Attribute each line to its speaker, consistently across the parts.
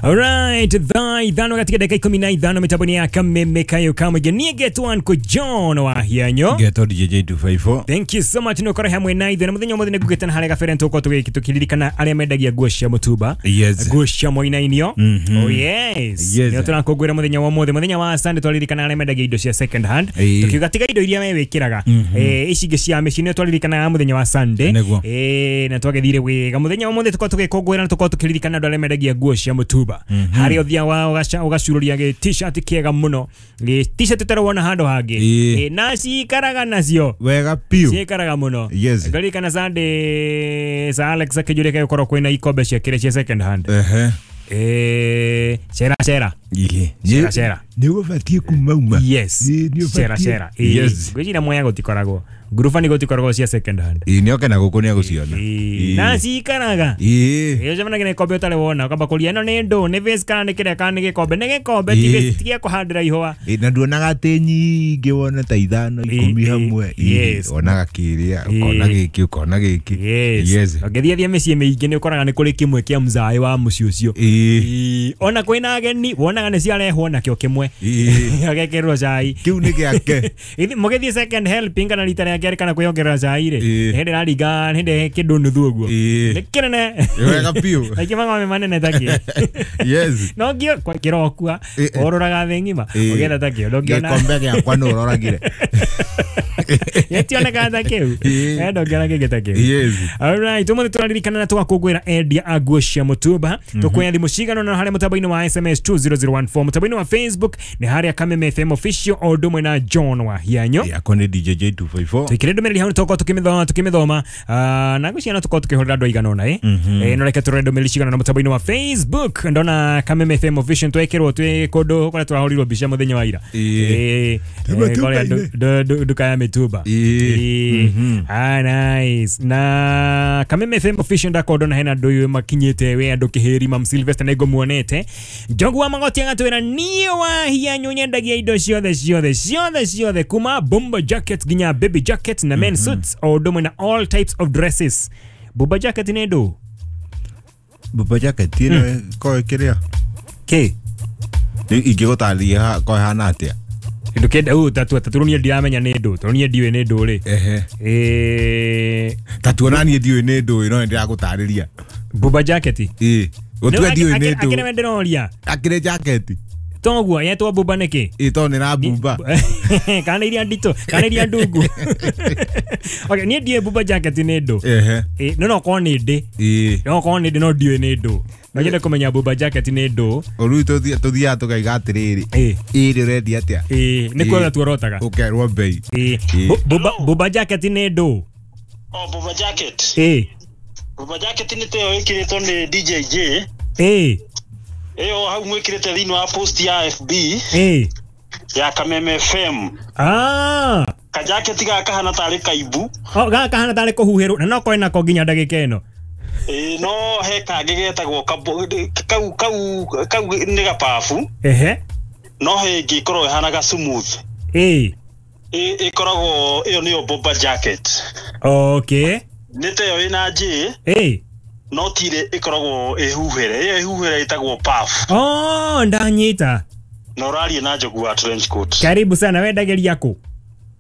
Speaker 1: Alright, thaa 5 katika dakika 15 mitaboni ya Kameme Kayo Kamwe niegetwo Uncle John wa Hianyo.
Speaker 2: Getwo DJ 254.
Speaker 1: Thank you so much nä hamwe na ithuĩ na mũthenya ũmũthĩ nĩ ngugĩte na harĩa gabere nĩtũgũkorwo tũkĩririkana arĩa mendagia nguo cia mũtumba,
Speaker 2: Yes.
Speaker 1: nguo cia moinainio. Oh yes,
Speaker 2: Yes.
Speaker 1: nĩo tũrakũngũĩra mũthenya wa ũmũthĩ, mũthenya wa Sunday twaririkana arĩa mendagia indo cia second hand,
Speaker 2: Ĩĩ.
Speaker 1: tukiuga tiga indo iria we wĩkĩraga, ici ingĩ cia mĩciĩ nĩo twaririkanaga mũthenya wa Sunday.
Speaker 2: Nĩguo.
Speaker 1: Na twagĩthire wega mũthenya wa ũmũthĩ tũkorwo tũgĩkũngũĩra na tũkorwo tũkĩririkana andũ arĩa mendagia nguo cia mũtumba, harĩa ũthiaga ũgacururia gĩ t-shirt kĩega mũno, gĩ t-shirt ũtarĩ wona handũ hangĩ.
Speaker 2: Ĩĩ.
Speaker 1: Na cikaraga nacio
Speaker 2: Wega piũ.
Speaker 1: ciikaraga mũno.
Speaker 2: Yes.
Speaker 1: Ngaririkana Sunday sa Alex akĩnjũria gũkorwo kwĩna ikombe cia kĩrĩa cia second hand.
Speaker 2: Ehe.
Speaker 1: Cera cera.
Speaker 2: Ĩĩ.
Speaker 1: Cera cera.
Speaker 2: Nĩ ũbatiĩ kumauma.
Speaker 1: Yes.
Speaker 2: Ĩĩ, nĩ
Speaker 1: Cera
Speaker 2: ũbatiĩ.
Speaker 1: cera. Ĩĩ.
Speaker 2: Yes.
Speaker 1: Ngwĩciria Mwea gũtikoragwo ngurubani gũtikoragwo cia second hand.
Speaker 2: Ĩĩ, nĩ oke na gũkũ nĩ agũciona.
Speaker 1: Ĩĩ. Na cikaraga.
Speaker 2: Ĩĩ.
Speaker 1: Ĩĩ, ũcemanagia na ikombe ũtarĩ wona ũkamba kũria ĩno nĩ ndũ, nĩ vase kana nĩ kĩrĩa kana nĩ gĩkombe, nĩ gĩkombe ti
Speaker 2: Ĩĩ.
Speaker 1: vase, ti gĩa kũhandĩra ihũa.
Speaker 2: Ĩĩ, na nduonaga atĩ nyingĩ wone ta 5
Speaker 1: Ĩĩ,
Speaker 2: 10
Speaker 1: ĩĩ,
Speaker 2: hamwe. Ĩĩ,
Speaker 1: yes.
Speaker 2: wonaga kĩrĩa,
Speaker 1: Ĩĩ.
Speaker 2: ũkona gĩkĩ, ũkona gĩkĩ.
Speaker 1: Yes.
Speaker 2: Yes.
Speaker 1: Ũngĩthiĩ thiĩ mĩciĩ mĩingĩ nĩ ũkoraga nĩ kũrĩ kĩmwe kĩa mzaĩ wa mũciĩ ũcio.
Speaker 2: Ĩĩ.
Speaker 1: Ĩĩ, ona kwĩna ageni wonaga nĩ ciarehwo nakĩo kĩmwe
Speaker 2: Ĩĩ.
Speaker 1: agekĩrwo cai.
Speaker 2: Kĩu nĩ gĩake.
Speaker 1: Mũgĩthiĩ second helping kana rita rĩa kerĩ kana kwĩongerera cai rĩ,
Speaker 2: Ĩĩ.
Speaker 1: hĩndĩ ĩraringa hĩndĩ kĩndũ nuthu ũguo.
Speaker 2: Ĩĩ.
Speaker 1: Nĩ kĩnene.
Speaker 2: Wega piũ.
Speaker 1: Aingĩ mang'ombe manene ta kĩ.
Speaker 2: Yes.
Speaker 1: No ngio kĩrokua
Speaker 2: Ĩĩ.
Speaker 1: ũrũraga thĩ ng'ima
Speaker 2: Ĩĩ.
Speaker 1: ũgĩetha ta kĩo ndũngĩona.
Speaker 2: Gĩkombe gĩakwa nĩ ũroragire.
Speaker 1: Gĩtionekaga ta kĩu.
Speaker 2: Ĩĩ.
Speaker 1: Ndũngĩona kĩngĩ ta kĩu.
Speaker 2: Yes.
Speaker 1: Alright, ũmũthĩ tũraririkana na tũgakũngũĩra endia a nguo cia mũtumba. Tũkuoya thimũ cigana ũna harĩa mũtambo-inĩ wa SMS 20014, mũtambo-inĩ wa Facebook nĩ harĩa Kameme FM official o ũndũ ũmwe na John wa Hianyo.
Speaker 2: Yakwa nĩ DJ 254.
Speaker 1: Tũikĩre ndũmĩrĩri hau nĩtũgũkorwo tũkĩmĩthoma, na ngwĩciria no tũkorwo tũkĩhũrĩra andũ aigana ũna no reke tũrore ndũmĩrĩri cigana ũna mũtambo-inĩ wa Facebook. Ndona Kameme FM official twekĩrwo twĩ kũndũ kũrĩa tũrahũrirwo mbica mũthenya wa ira.
Speaker 2: Ĩĩ.
Speaker 1: Kũrĩa nduka ya mĩtumba.
Speaker 2: Ĩĩ.
Speaker 1: Ĩĩ. Ah, nice. Na Kameme FM official ndakorwo ndona hena andũ ũyũ makinyĩte we andũ kĩhĩri mam Sylvester nĩ ngũmuonete. Njogu wa Magoti agatwĩra niĩ wa Hianyu nyendagia indo ciothe ciothe ciothe ciothe kuma bomber jacket nginya baby jacket na men suits o ũndũ ũmwe na all types of dresses. Bomber jacket nĩ ndũ?
Speaker 2: Baba jacket ĩno ko ĩkĩrĩa?
Speaker 1: Kĩ?
Speaker 2: Rĩu ingĩgũtarĩria ko ĩhana atĩa?
Speaker 1: Kĩndũ kĩenda ũ tatu tatu niĩ ndiramenya nĩ ndũ tondũ niĩ ndiũĩ nĩ ndũ rĩ.
Speaker 2: Ehe. Ta tuona niĩ ndiũĩ nĩ ndũĩ no nĩndĩragũtarĩria.
Speaker 1: Bomber jacket.
Speaker 2: Ĩĩ. Gũtua ndiũĩ nĩ
Speaker 1: Akĩrĩ
Speaker 2: ndũ.
Speaker 1: we ndĩroria.
Speaker 2: Akĩrĩ jacket.
Speaker 1: Toguo yetwo bumba nĩkĩ?
Speaker 2: Ĩĩ, tondũ nĩ rabumba.
Speaker 1: Kana iria nditũ kana iria ndungu. Okay, niĩ ndiũĩ bumba jacket nĩ ndũ.
Speaker 2: Ehe.
Speaker 1: No no korwo nĩ ndĩ.
Speaker 2: Ĩĩ.
Speaker 1: No korwo nĩ ndĩ no ndiũĩ nĩ ndũ. No nyende kũmenya bumba jacket nĩ ndũ.
Speaker 2: Rĩu tũthiaga tũkaiga atĩrĩrĩ.
Speaker 1: Ĩĩ.
Speaker 2: Ĩĩ, ũrendia atĩa?
Speaker 1: Ĩĩ, nĩ kuona tuorotaga.
Speaker 2: Ũkerwo bei.
Speaker 1: Ĩĩ.
Speaker 2: Ĩĩ.
Speaker 1: Bumba jacket nĩ ndũ.
Speaker 3: Oh, Bumba jacket.
Speaker 1: Ĩĩ.
Speaker 3: Bumba jacket nĩ ta ĩyo ĩkĩrĩtwo nĩ DJ J.
Speaker 1: Ĩĩ.
Speaker 3: Ĩyo hau mwĩkĩrĩte thĩinĩ wa post ya FB
Speaker 1: Ĩĩ.
Speaker 3: ya Kameme FM.
Speaker 1: Ah.
Speaker 3: Kajaketi gaka kahana tarĩ kaimbu.
Speaker 1: Oh, gaka kahana tarĩ kũhuhĩrwo na no korwo nako nginya ndagĩka ĩno.
Speaker 3: Ĩĩ, no he kangĩ getagwo kau kau kau nĩ gababu.
Speaker 1: Ehe.
Speaker 3: No he ĩngĩ ĩkoragwo ĩhana ga smooth.
Speaker 1: Ĩĩ.
Speaker 3: Ĩkoragwo ĩyo nĩyo bomber jacket.
Speaker 1: Okay.
Speaker 3: Nĩ ta ĩyo ĩna J.
Speaker 1: Ĩĩ.
Speaker 3: No tirĩ ĩkoragwo ĩhuhĩre. Ĩyo ĩhuhĩre ĩtagwo puff.
Speaker 1: Oh, ndanyita.
Speaker 3: Na ũraria na Njogu wa trench coat.
Speaker 1: Karibu sana, wendagĩria kũ?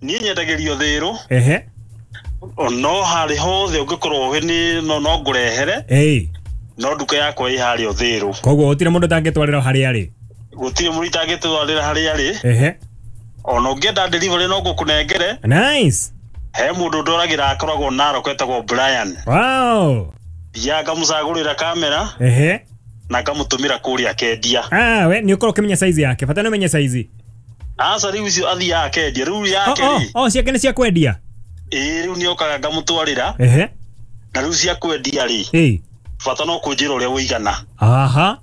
Speaker 3: Niĩ nyendagĩrio Thĩrũ.
Speaker 1: Ehe.
Speaker 3: No harĩ hothe ũngĩkorwo nĩ no no ngũrehere.
Speaker 1: Ĩĩ.
Speaker 3: No nduka yakwa ĩ harĩa Thĩrũ.
Speaker 1: Koguo gũtirĩ mũndũ ũtangĩtwarĩra harĩa arĩ.
Speaker 3: Gũtirĩ mũndũ itangĩtwarĩra harĩa arĩ.
Speaker 1: Ehe.
Speaker 3: Ona ũngĩenda delivery no ngũkũnengere.
Speaker 1: Nice.
Speaker 3: He mũndũ ndoragĩra akoragwo Narok etagwo Brian.
Speaker 1: Wow.
Speaker 3: Thiaga ngamũcagũrĩra kamera.
Speaker 1: Ehe.
Speaker 3: Na ngamũtũmĩra kũrĩa akendia.
Speaker 1: Ah, we nĩ ũkorwo ũkĩmenya size yake. Bata nĩ ũmenye size.
Speaker 3: Aca rĩu icio athiaga akendia. Rĩu yake rĩ.
Speaker 1: Oh, ciake nĩ cia kwendia.
Speaker 3: Ĩĩ, rĩu nĩokaga ngamũtwarĩra.
Speaker 1: Ehe.
Speaker 3: Na rĩu cia kwendia rĩ.
Speaker 1: Ĩĩ.
Speaker 3: Bata no kũnjĩra ũrĩa ũigana.
Speaker 1: Aha.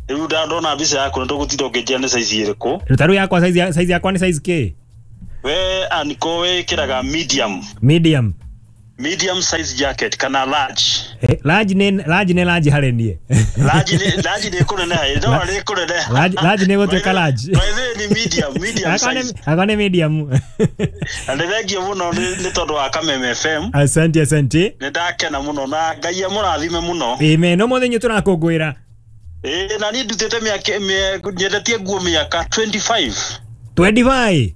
Speaker 3: Rĩu ndona mbica yaku nĩtũgũtinda ũkĩnjĩra nĩ size ĩrĩkũ.
Speaker 1: Rĩu ta rĩu yakwa size yakwa nĩ size kĩ?
Speaker 3: We aniko wĩkĩraga medium.
Speaker 1: Medium.
Speaker 3: Medium size jacket kana large.
Speaker 1: Large nĩ large harĩ niĩ.
Speaker 3: Large nĩ kũneneha, no nĩ kũneneha.
Speaker 1: Large nĩ gũtuĩka large.
Speaker 3: By the way, nĩ medium size.
Speaker 1: Akwa nĩ medium.
Speaker 3: Na nĩ thengio mũno nĩ tondũ wa Kameme FM.
Speaker 1: Asante asante.
Speaker 3: Nĩ ndakena mũno na Ngai amũrathime mũno.
Speaker 1: Amen. No mũthenya tũrakũngũĩra.
Speaker 3: Na niĩ ndutĩte mĩaka nyendetie nguo mĩaka 25.
Speaker 1: 25?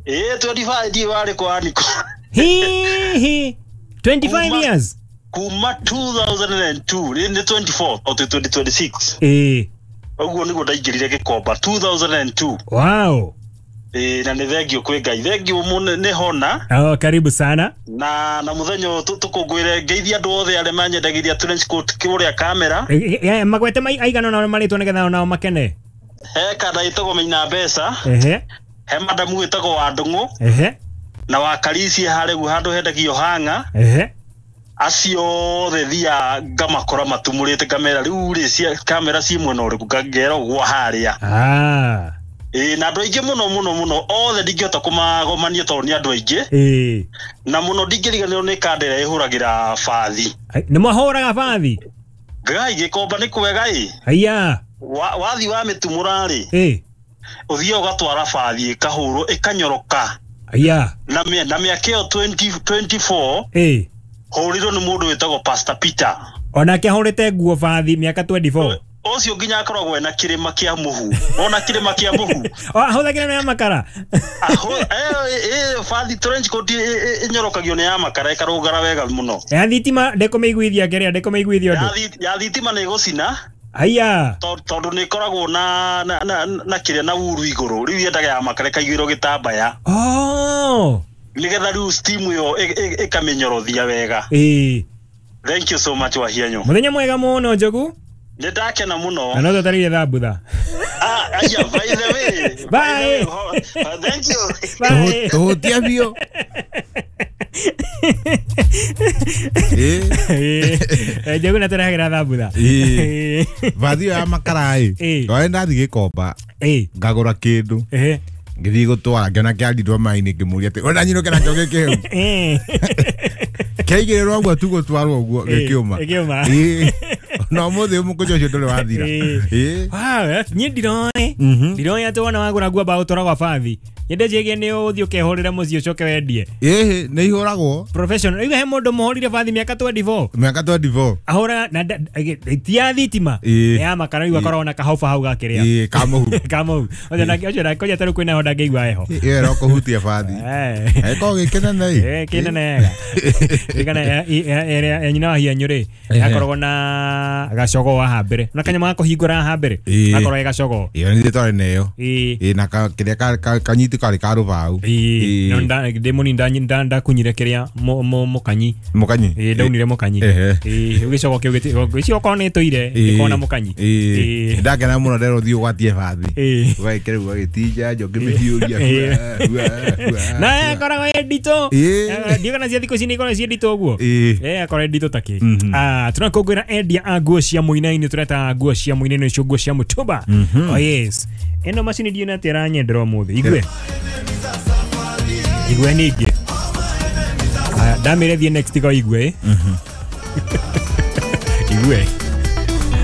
Speaker 3: 25 ndiĩ warĩ kwa Aniko.
Speaker 1: Hi 25 years.
Speaker 3: Kuma 2002 nĩ 24 o 2026. Ũguo nĩguo ndaingĩrire Gĩkomba 2002.
Speaker 1: Wow.
Speaker 3: Na nĩ thengio kwĩ Ngai. Thengio mũno nĩ hona.
Speaker 1: Oh, karibu sana.
Speaker 3: Na mũthenya ũyũ tũkũngũĩre ngeithia andũ othe arĩa manyendagĩria trench coat kũrĩa kamera.
Speaker 1: Magwete aigana ona marĩtwo nĩgetha onao makene.
Speaker 3: He kana ĩtagwo Maina Mbeca. He madamu ĩtagwo wa Ndũng'ũ. Na wa Karisi harĩa guo handũ hendagio hanga. Acio othe thia ngamakora matumũrĩte kamera rĩu rĩ kamera ci mwena ũrĩkũ ngangera ũguo harĩa. Na andũ aingĩ mũno mũno mũno othe ndingĩhota kũmagomania tondũ nĩ andũ aingĩ. Na mũno ndingĩriganĩrwo nĩ kanda ĩrĩa ĩhũragĩra bathi.
Speaker 1: Nĩ mwahũraga bathi?
Speaker 3: Ngai Gĩkomba nĩ kwega ĩ.
Speaker 1: Haiya.
Speaker 3: Wathi wa mĩtumũra rĩ. Ũthiaga ũgatwara bathi ĩkahũrwo ĩkanyoroka.
Speaker 1: Haiya.
Speaker 3: Na mĩaka ĩyo 2024 hũrirwo nĩ mũndũ wĩtagwo Pastor Peter.
Speaker 1: Onake ahũrĩte nguo bathi mĩaka 24.
Speaker 3: Ũcio nginya akoragwo ena kĩrĩma kĩa mũhu. Ona kĩrĩma kĩa mũhu.
Speaker 1: Ahũthagĩra na ya makara.
Speaker 3: Bathi trench coat ĩnyorokagio nĩ ya makara ĩkarũgara wega mũno.
Speaker 1: Ya thitima ndĩkũmĩiguithia kĩrĩa ndĩkũmĩiguithia ũndũ.
Speaker 3: Ya thitima nĩ ĩgũcina.
Speaker 1: Haiya.
Speaker 3: Tondũ nĩ ĩkoragwo na kĩrĩa na uru igũrũ. Rĩu yendaga ya makara ĩkaigĩrwo gĩtambaya. Nĩgetha rĩu steam ĩyo ĩkamĩnyorothia wega. Thank you so much Wahianyo.
Speaker 1: Mũthenya mwega mũno Njogu.
Speaker 3: Nĩ ndakena mũno.
Speaker 1: Na no tũtarĩrie thambutha.
Speaker 3: Aya, by the way.
Speaker 1: Bye.
Speaker 3: Thank you.
Speaker 1: Bye.
Speaker 2: Tũhutia biũ.
Speaker 1: Njogu na tũrehagĩra thambutha.
Speaker 2: Bathi ya makara ĩ. Twarĩ ndathiĩ Gĩkomba. Ngagũra kĩndũ. Ngĩthiĩ gũtwara ngĩona kĩarirwo maĩ-inĩ ngĩmũria atĩ ona nyinũke nakĩo gĩkĩhau. Kĩaigĩrĩrwo ũguo tu gũtwarwo ũguo gĩkĩũma. Na ũmũthĩ mũkũnjo ũcio ndũrĩ wathira.
Speaker 1: Niĩ ndiroĩ. Ndiroĩ atĩ wona wagũra nguo mbaũtwaragwo bathi. Nyende njĩgie nĩ ũthiĩ ũkehũrĩre mũciĩ ũcoke wendie.
Speaker 2: Nĩ ihũragwo.
Speaker 1: Professional. Rĩu he mũndũ mũhũrire bathi mĩaka 24.
Speaker 2: Mĩaka 24.
Speaker 1: Ahũraga na ti ya thitima. Nĩ ya makara rĩu akoragwo na kahoba hau gakĩrĩa.
Speaker 2: Kamũhu.
Speaker 1: Kamũhu. Ũcio nake tarĩu kwĩna ho ndangĩigua heho.
Speaker 2: Ĩyo ĩro kũhutia bathi. Ĩkoragwo gĩkĩnene ĩ.
Speaker 1: Kĩnene wega. Ĩrĩa nyina wa Hianyu rĩ akoragwo na gacogo haha mbere. Na kanyamũ ga kũhingũra haha mbere. Akoragwo ge gacogo.
Speaker 2: Ĩyo nĩ twarĩ nayo. Na kĩrĩa kanyiti karĩ ka rũbaũ.
Speaker 1: Ndĩ mũnini ndakunyire kĩrĩa mũkanyi.
Speaker 2: Mũkanyi?
Speaker 1: Ndaunire mũkanyi. Rĩu gĩcogo kĩu gĩcio okorwo nĩ ĩtũire gĩkoragwo na mũkanyi.
Speaker 2: Ndakena mũno nderwo thiĩ ũgwatie bathi. Ũgagĩkĩra ũgagĩtinja njo ngĩmĩhiũria.
Speaker 1: Na akoragwo ĩ nditũ. Ndiũĩ kana cia thikũ ici nĩ ikoragwo ciĩ nditũ ũguo. Akoragwo ĩ nditũ ta kĩ. Tũrakũngũĩra endia a nguo cia mũinainĩ tũreta nguo cia mũinainĩ nĩcio nguo cia mũtumba. Oh yes. Ĩno macini ndiũĩ atĩ ĩranyendera ũmũthĩ. Igue. Igue ningĩ. Ndamĩre thiĩ next ko igue. Igue.